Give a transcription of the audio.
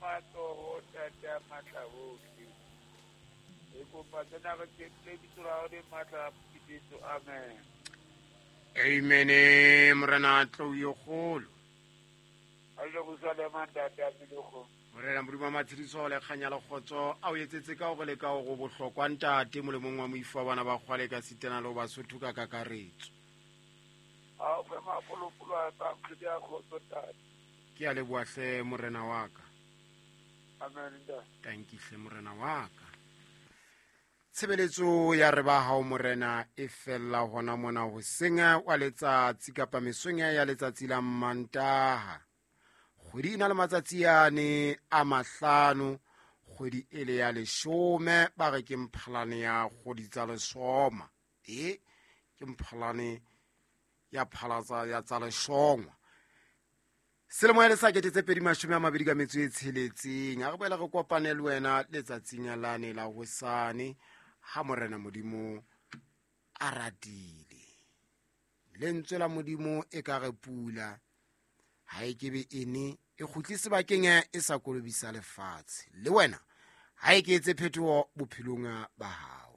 Matsoho, Ntate ya matla ohle. Re kopa tsena re tshepile bitso la hao le matla Jesu. Amen. Amen. Morena tlou yo kgolo. A Jerusalema, Ntate ya Meloko. Morena Modimo wa matshediso le kganya le kgotso a o etsetse ka hore le ka hore o bohlokwa, ntate, molemong wa moifo wa bana ba kgwale ka sitana le ho Basotho ka kakaretso. A o fe mafolofolo a tsa kgwedi ya kgotso, Ntate. Ke a leboha hle, morena wa ka. Amen, Ntate. Tankihle, morena wa ka. Tshebeletso ya re ba hao, morena, e fella hona mona hoseng wa letsatsi kapa mesong ya letsatsi la Mantaha. Kgwedi e na le matsatsi ane a 5, kgwedi e le ya 10, ba re ke Mphalane ya kgwedi tsa lesoma. E ke Mphalane ya phalatsa ya tsa leshongwa. Selemo ya lesa 2026. A re boela re kopane le wena letsatsing lane la hosane ha morena Modimo a ratile. Lentswe la Modimo e ka re pula ha e kebe ene e kgutle sebakeng e sa kolobisa lefatshe. Le wena ha e ke etse phetoho bophelong ba hao.